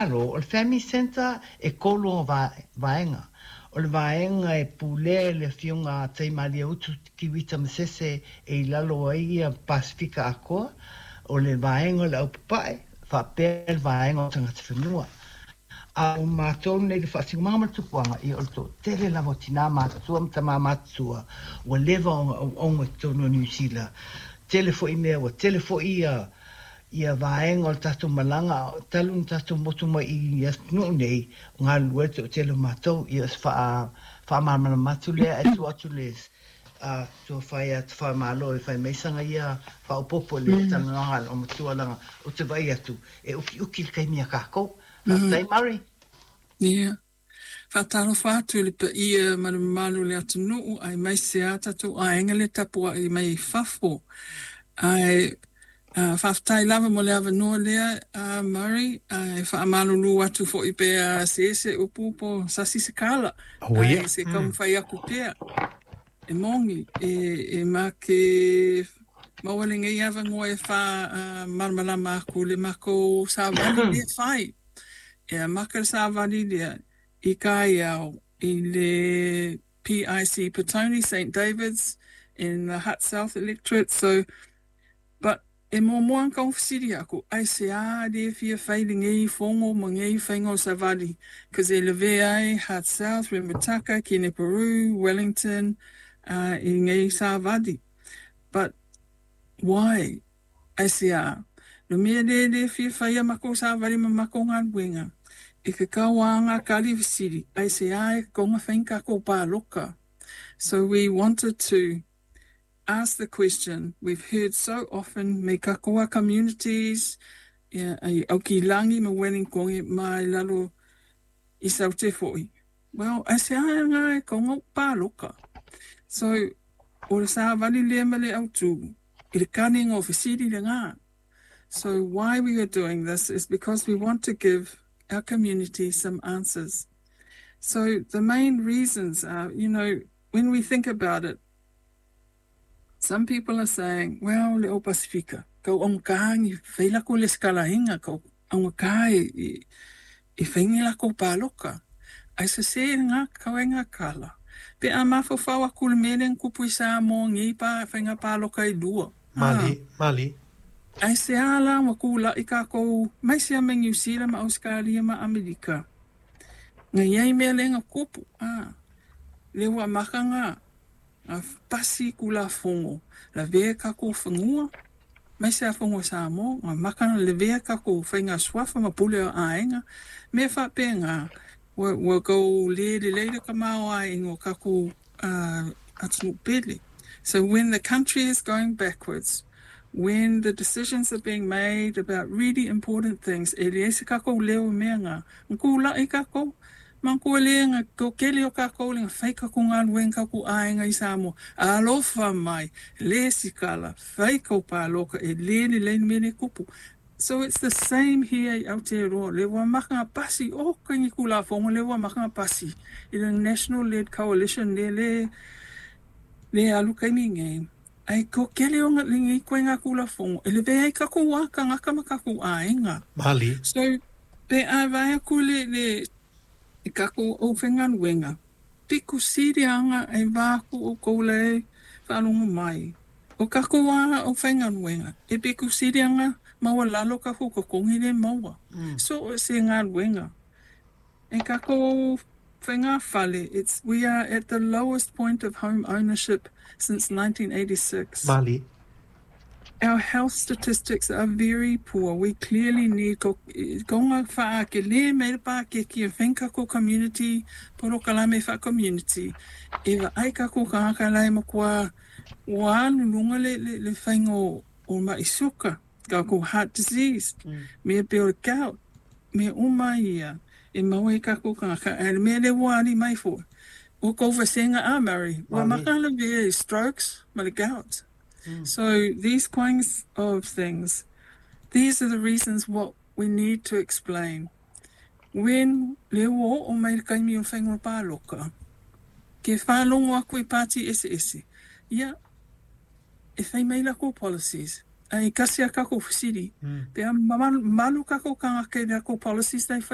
O le Family Centre e tolu ona vaega. O le vaega e pulea e le Afioga a Taimalieutu Tevita Masese e i lalo ai ia Pasefika atoa, o le vaega o le Aupapae, faapea le vaega o tagata fanua. A o matou nei le faasinomaga ma le tupuaga, ia o le toatele lava o tinā matutua ma tamā matutua ua leva ona auauna i totonu o Niu Sila. Tele foi mea, ua tele foi ia vaega o le tatou malaga talu ona tatou motu mai i atunuu nei, o galulue le toatele o matou. Ia o se faamalamalama atu lea ae tuu atu le tuafai ia Tafaimalo e fai mai sana ia faaopoopo i le talanoaga a le olomatua leaga ou te vaai atu e utiuti le taimi a tatou. Faafetai Murray. Ia. Faatalofa atu i le paia ma le mamalu o le atunuu aemaise a tatou aiga le tapuai mai fafo. Ae faafetai lava mo le avanoa lea, Murray, ae faamalulu atu foi pe se se upu po sasi se kala. Oh, ia. Ae se taumafai atu pea. E moni, e ma ke maua lenei avanoa e faamalamalama atu le makou savali lea fai. E amata le savali lea i Kaiao i le PIC Petone St. David's in the Hutt South electorate. So, but e muamua ona taufesili aku, aisea le fia fai lenei fono ma nei faiga o savali? 'Cause e lavea ai Hutt South, Remutaka, Kenepuru, Wellington i nei savali. But why? Aisea? Le mea le le fia fai a makou savali ma makou galuega. E ke kauāga kali fesili, aisea e konga whainga kako pāloka? So we wanted to ask the question we've heard so often me kakoa communities, ia, ai Aukilani ma Wellington ma i lalo i saute foi. Well, aisea ngā e konga pāloka? So, o le savali lea ma le autu, i le kane ngō fesili le ngā. So why we are doing this is because we want to give our community some answers. So the main reasons are, when we think about it, some people are saying, well, le o Pasifika, kau aungka ni whaila ko le skala hinga, kau aungka i whaingi la ko pāloka. Ai se se ngā kau e ngā kala. Pe a mawhawhau aku le mele kupu i Samoa ngi pa whainga pāloka i lua. Mali, mali. Ai se ala wa kula i kākou mai sea me New Zealand ma Australia ma Amerika. Nga iai mea le nga kupu. Le ua maka ngā pasi kula fongo. La vea kākou whangua. Mai sea fongo Samoa. Nga maka le vea kākou whainga suafa ma pule o aenga. Mea whapea ngā. Ua kau le le leila ka mao ai ingo kākou atunu pele. So when the country is going backwards, when the decisions are being made about really important things, e le ese kākou leo mea ngā. Ngā la i kākou, ma ko le nga ko kele o kākou le ngā whai kākou ngā luen kākou aenga i Samoa. Alofa mai, le sikala, whai kau pāloka, e le le le mele kupu. So it's the same here i Aotearoa. Le ua maka ngā pasi, o ka ngi kula fongo, le ua maka ngā pasi. I the National-led coalition le le, le alu kai mi ngai. Ai ko kele o ngā lingi koe ngā kula fongo. E le vea i kakou waka ngā kama kakou aenga. Mali. So, pe a vai aku le, le i kakou o whengaluenga. Piku sirianga e vāku o koule whalongo mai. O kakou a o whengaluenga. E piku sirianga maua lalo kakou kokongi le maua. So, se ngā. E kakou whenga whale, we are at the lowest point of home ownership since 1986. Mali. Our health statistics are very poor. We clearly need ko ngā wha ke le me pa ke ki e whenka ko community, poro kalame wha community. E wa ai ka ko ka ka lai ma kua wa lunga le le, le whainga o ma isuka, ka ko heart disease, me pe o gout, me uma ia, e maue ka ko ka ka, e me le wari mai fo. O ko vasenga a Murray, wa makala ve strokes, ma le gout. So these kinds of things, these are the reasons what we need to explain. When le o o mai kai mi o whainga pāloka, ke whālongo aku i pāti ese ese, ia, e whai mai la ko policies, ai kasi a kako whasiri, pe a malu kako ka ngake la ko policies nei whai.